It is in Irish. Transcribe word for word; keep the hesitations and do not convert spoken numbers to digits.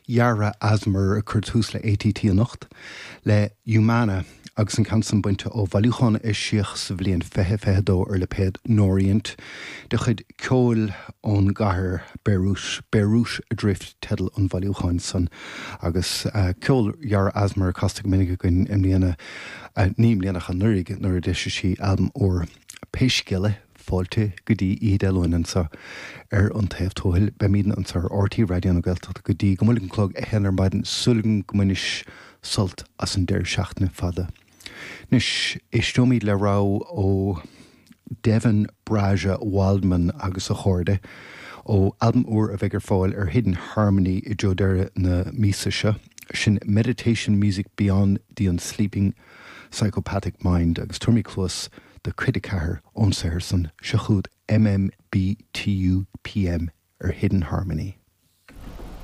Yara Asmer ag cur tús le ATT anocht le Humana agus an ceann san bainte ó bhailiúchán a eisíodh sa bhliain fiche fiche dó ar lipéad Norient de chuid ceoil ón gcathair Beirut Beirut Adrift teideal an bhailiúcháin san agus uh, ceol Yara Asmer casta go minic againn i mbliana uh, ní i mbliana ach anuraidh nuair a d'eisigh sí albam úr Pé scéal é fáilte go dtí Oíche Dé Luain anseo ar an taobh tuathail beimidne anseo ar RTÉ Raidió na Gaeltachta go dtí go mbuailfidh an clog a haon ar maidin súil agam go mbainfidh sibh sult as an deireadh seachtaine fada. Anois éisteoimid le rogha ó Devin Brahja Waldman agus a chairde ó albam úr a bheidh ar fáil ar Hidden Harmony i dtreo deireadh na míosa seo sin Meditation Music Beyond the Unsleeping Psychopathic Mind agus tabharfaimid cluas do chuid a ceathair ón saothar san seo chugat MMBTUPM ar Hidden Harmony.